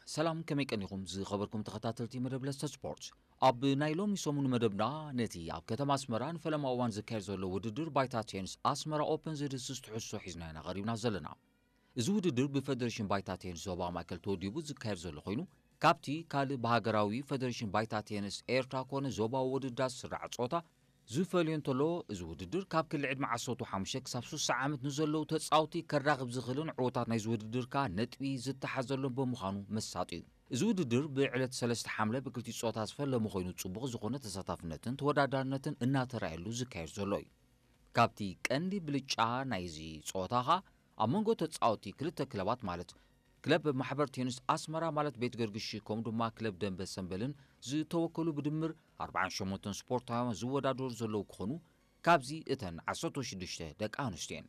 ሰላም፣ ከመይ ቀኒኹም ዝኸበርኩም ተኸታተልቲ መደብ ለስተ ስፖርት? ኣብ ናይ ሎሚ ሰሙን መደብና፣ ነቲ ኣብ ከተማ ኣስመራ ንፈለማ እዋን ዝካየድ ዘሎ ውድድር ባይታ ቴኒስ ኣስመራ ኦፕን ዝድስስ ትሕዝቶ ሒዝና ኢና ቀሪብና ዘለና። እዚ ውድድር ብፈደሬሽን ባይታ ቴኒስ ዞባ ማእከል ተወዲቡ ዝካየድ ዘሎ ኮይኑ፣ ካብቲ ካልእ ብሃገራዊ ፈደሬሽን ባይታ ቴኒስ ኤርትራ ኮነ ዞባዊ ውድድራት ዝስራዕ ጾታ ዝፈልዮ እንተሎ፣ እዚ ውድድር ካብ ክሊ ዕድመ ዓሰርተ ሓሙሽተ ክሳብ ስሳ ዓመት ንዘለዉ ተጻወቲ ከራኽብ ዝኽእልን ዕዉታት ናይዚ ውድድር ከኣ ነጥቢ ዝተሓዘሎም ብምዃኑ መሳጢ እዩ። እዚ ውድድር ብዕለት ሰለስተ ሓምለ ብክልቲኡ ጾታ ዝፈለሙ ኮይኑ፣ ጽቡቕ ዝኾነ ተሳታፍነትን ተወዳዳርነትን እናተራእየሉ ዝካየድ ዘሎ እዩ። ካብቲ ቀንዲ ብልጫ ናይዚ ጸወታ ኸኣ፣ ኣብ መንጎ ተጻወቲ ክልተ ክለባት ማለት ክለብ ማሕበር ቴኒስ ኣስመራ ማለት ቤት ገርግሽ ከምኡ ድማ ክለብ ደንበ ሰምበልን ዝተወከሉ ብድምር ኣርባዓን ሸሞንተን ስፖርታውያን ዝወዳደሩ ዘለዉ ክኾኑ፣ ካብዚ እተን ዓሰርተ ሽዱሽተ ደቂ ኣንስትዮ እየን።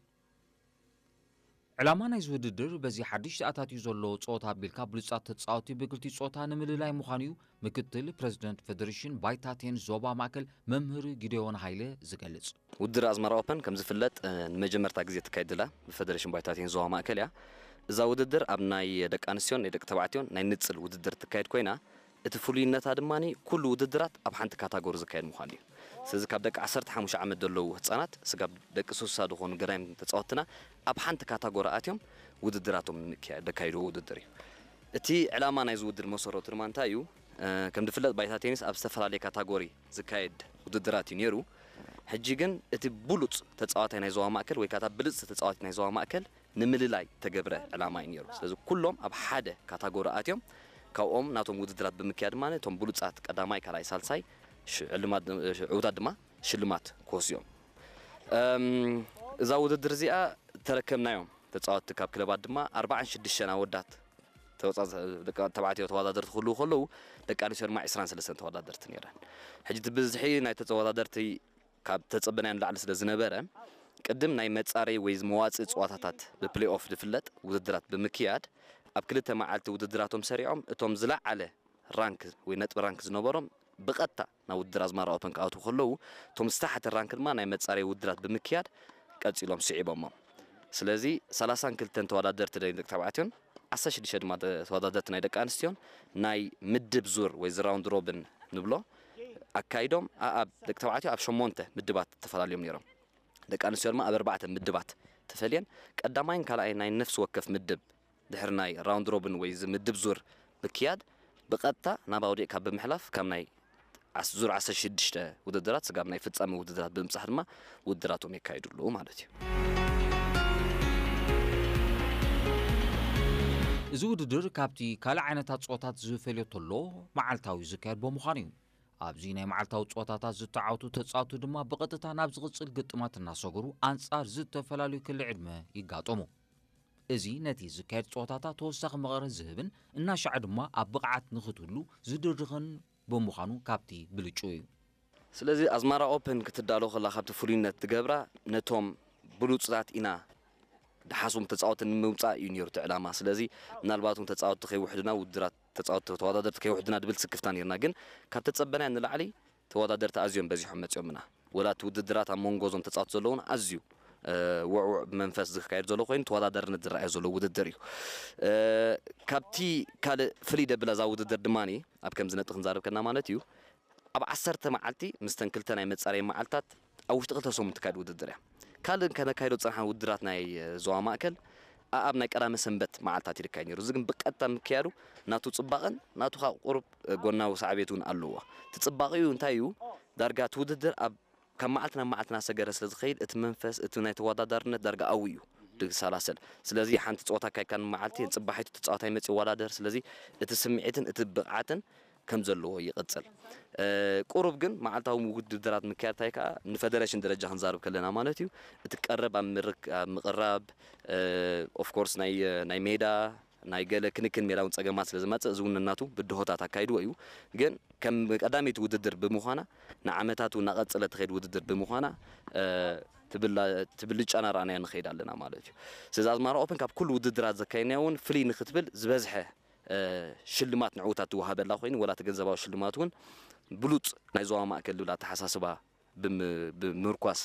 ዕላማ ናይዚ ውድድር በዚ ሓድሽ ተኣታትዩ ዘሎ ጸወታ ኣቢልካ ብሉጻት ተጻወቲ ብክልቲኡ ጾታ ንምልላይ ምዃኑ እዩ ምክትል ፕረዚደንት ፈደሬሽን ባይታ ቴኒስ ዞባ ማእከል መምህር ጊዴዎን ሃይለ ዝገልጽ። ውድድር ኣስመራ ኦፐን ከም ዝፍለጥ፣ እ፣ ንመጀመርታ ግዜ ትካየድ ዘላ ብፈደሬሽን ባይታ ቴኒስ ዞባ ማእከል እያ። እዛ ውድድር ኣብ ናይ ደቂ ኣንስትዮን ናይ ደቂ ተባዕትዮን ናይ ንጽል ውድድር ትካየድ ኮይና፣ እቲ ፍሉይነታ ድማ ኩሉ ውድድራት ኣብ ሓንቲ ካታጎሪ ዝካየድ ምዃኑ እዩ። ስለዚ ካብ ደቂ ዓሰርተ ሓሙሽተ ዓመት ዘለዉ ህጻናት ስጋብ ደቂ ስሳ ዝኾኑ ገዳይም ተጻወትና ኣብ ሓንቲ ካታጎሪ ኣትዮም ውድድራቶም ንምክያ-፣ ዘካይድዎ ውድድር እዩ። እቲ ዕላማ ናይዚ ውድድር መሰረቱ ድማ እንታይ እዩ? እ፣ ከም ዝፍለጥ ባይታ ቴኒስ ኣብ ዝተፈላለየ ካታጎሪ ዝካየድ ውድድራት እዩ ነይሩ። ሕጂ ግን እቲ ብሉጽ ተጻዋታይ ናይ ዞባ ማእከል ወይ ከዓ እታ ብልጽቲ ተጻዋቲት ናይ ዞባ ማእከል ንምልላይ ተገብረ ዕላማ እዩ ነይሩ። ስለዚ ኩሎም ኣብ ሓደ ካታጎሪ ኣትዮም ካብኦም ናቶም ውድድራት ብምክያድ ድማ እቶም ብሉጻት ቀዳማይ፣ ካልኣይ፣ ሳልሳይ ሽ-፣ ዕልማት፣ ሽ-፣ ዕዉታት ድማ ሽልማት ክወስዮም። እም፣ እዛ ውድድር እዚኣ ተረከብናዮም ተጻወትቲ ካብ ክለባት ድማ ኣርባዓን ሽዱሽተን ኣወዳት ተወጻ-፣ ደቂ ተባዕትዮ ተወዳደርቲ ክህልዉ ከለዉ፣ ደቂ ኣንስትዮ ድማ ዕስራን ሰለስተን ተወዳደርቲ ነይረን። ሕጂ እቲ ብዝሒ ናይ ተወዳደርቲ ካብ ተጸበናዮ ንላዕሊ ስለ ዝነበረ፣ ቅድም ናይ መጻረይ ወይ መዋጽኢ ጸዋታታት ብፕሌይ ኦፍ ዝፍለጥ ውድድራት ብምክያድ፣ ኣብ ክልተ መዓልቲ ውድድራቶም ሰሪዖም፣ እቶም ዝለዓለ ራንክ ወይ ነጥቢ ራንክ ዝነበሮም ብቐጥታ ናብ ውድድር ኣዝማራ ኦፐን ክኣትዉ ከለዉ፣ እቶም ዝተሓተ ራንክ ድማ ናይ መጻረይ ውድድራት ብምክያድ ቀጺሎም ስዒቦሞም። ስለዚ ሰላሳን ክልተን ተወዳደርቲ ናይ ደቂ ተባዕትዮን ዓሰርተ ሽዱሽተ ድማ ተ-፣ ተወዳደርቲ ናይ ደቂ ኣንስትዮን ናይ ምድብ ዙር ወይ ዚ ራውንድ ሮብን ንብሎ ኣካይዶም፣ ኣ-፣ ኣብ ደቂ ተባዕትዮ ኣብ ሸሞንተ ምድባት ተፈላልዮም ነይሮም። ደቂ ኣንስትዮ ድማ ኣብ ኣርባዕተ ምድባት ተፈልየን፣ ቀዳማይን ካልኣይን ናይ ነፍሲ ወከፍ ምድብ ድሕሪ ናይ ራውንድ ሮብን ወይ እዚ ምድብ ዙር ምክያድ፣ ብቐጥታ ናብ ኣውዲቕካ ብምሕላፍ፣ ካብ ናይ ዓስ-፣ ዙር ዓሰርተ ሽዱሽተ ውድድራት ስጋብ ናይ ፍጻመ ውድድራት ብምብጻሕ ድማ ውድድራቶም የካይድሉ ማለት እዩ። እዚ ውድድር ካብቲ ካልእ ዓይነታት ጸወታት ዝፈልዮ ተሎ፣ መዓልታዊ ዝካየድ ብምዃኑ እዩ። ኣብዚ ናይ መዓልታዊ ጸወታታት ዝተዓወቱ ተጻወቱ ድማ ብቐጥታ ናብ ዝቕጽል ግጥማት እናሰገሩ ኣንጻር ዝተፈላለዩ ክሊ ዕድመ ይጋጠሙ። እዚ ነቲ ዝካየድ ጸወታታት ተወሳኺ መቐረት ዝህብን እናሻዕ ድማ ኣብ ብቕዓት ንኽትህሉ ዝድርኽን ብምዃኑ ካብቲ ብልጩ እዩ። ስለዚ ኣዝማራ ኦፕን ክትዳሎ ከላ ካብቲ ፍሉይነት ትገብራ ነቶም ብሉጽታት ኢና ድሓስቦም ተጻወቲ ንምውጻእ እዩ ነይሩ እቲ ዕላማ። ስለዚ ምናልባት እውን ተጻወቲ ከይውሕዱና፣ ውድድራት ተጻወቲ ተወዳደርቲ ከይውሕዱና ድብል ስክፍታ ነይርና። ግን ካብ ተጸበናዮ ንላዕሊ ተወዳደርቲ ኣዝዮም በዚሖም መጺኦምና። ወላ እቲ ውድድራት ኣብ መንጎ እዞም ተጻወቲ ዘለውን ኣዝዩ፣ እ፣ ውዕውዕ ብመንፈስ ዝካየድ ዘሎ ኮይኑ ተወዳዳርነት ዝረኣዮ ዘሎ ውድድር እዩ። እ፣ ካብቲ ካልእ ፍልይ ደብላ እዛ ውድድር ድማ ኣብ ከምዚ ነጥቢ ክንዛረብ ከና ማለት እዩ፣ ኣብ ዓሰርተ መዓልቲ ምስተን ክልተ ናይ መጻረይ መዓልታት ኣብ ውሽጢ ክልተ ሰሙን ትካየድ ውድድር እያ። ካልእ ከነካይዶ ዝጸናሕና ውድድራት ናይ ዞባ ማእከል ኣኣብ ናይ ቀዳመ ሰንበት መዓልታት ይካየድ ነይሩ። እዚ ግን ብቐጥታ ምክያዱ ናቱ ጽባቐን ናቱ ካብ ቁሩብ ጎናዊ ሳዕቤት እውን ኣለዎ። እቲ ጽባቐኡ እንታይ እዩ? ዳርጋ እቲ ውድድር ኣብ ካብ መዓልቲ ናብ መዓልቲ እናሰገረ ስለ ዝኸይድ እቲ መንፈስ፣ እቲ ናይ ተወዳዳርነት ዳርጋ ኣብኡ እዩ ድሰላሰል። ስለዚ ሓንቲ ጸወታ ኣካይድካ ንመዓልቲ ንጽባሒቱ ተጻዋታይ መጺኡ ይወዳደር። ስለዚ እቲ ስምዒትን እቲ ብቕዓትን ከም ዘለዎ ይቕጽል። እ፣ ቁሩብ ግን መዓልታዊ ውድድራት ምክያድ እንታይ ከኣ ንፈደረሽን ደረጃ ክንዛረብ ከለና ማለት እዩ። እቲ ቀረብ ኣብ ምርክ-፣ ኣብ ምቕራብ፣ እ፣ ኦፍ ኮርስ ናይ፣ ናይ ሜዳ፣ ናይ ገለ ክንክን ሜዳ እውን ጸገማት ስለ ዝመጽእ፣ እዚ እውን ነናቱ ብድሆታት ኣካይድዎ እዩ። ግን ከም ቀዳመይቲ ውድድር ብምዃና፣ ንዓመታት እውን እናቐጸለት ትኸይድ ውድድር ብምዃና፣ እ፣ ትብላ-፣ ትብልጫ እናረኣናዮ ንኸይድ ኣለና ማለት እዩ። ስለዚ ኣዝማራ ኦፕን ካብ ኩሉ ውድድራት ዘካየድናዮ እውን ፍልይ ንኽትብል ዝበዝሐ እ፣ ሽልማት ንዕዉታት ዝወሃበላ ኮይኑ፣ ወላ እቲ ገንዘባዊ ሽልማት እውን ብሉጽ ናይ ዞባ ማእከል ዝብል ኣተሓሳስባ ብም-፣ ብምርኳስ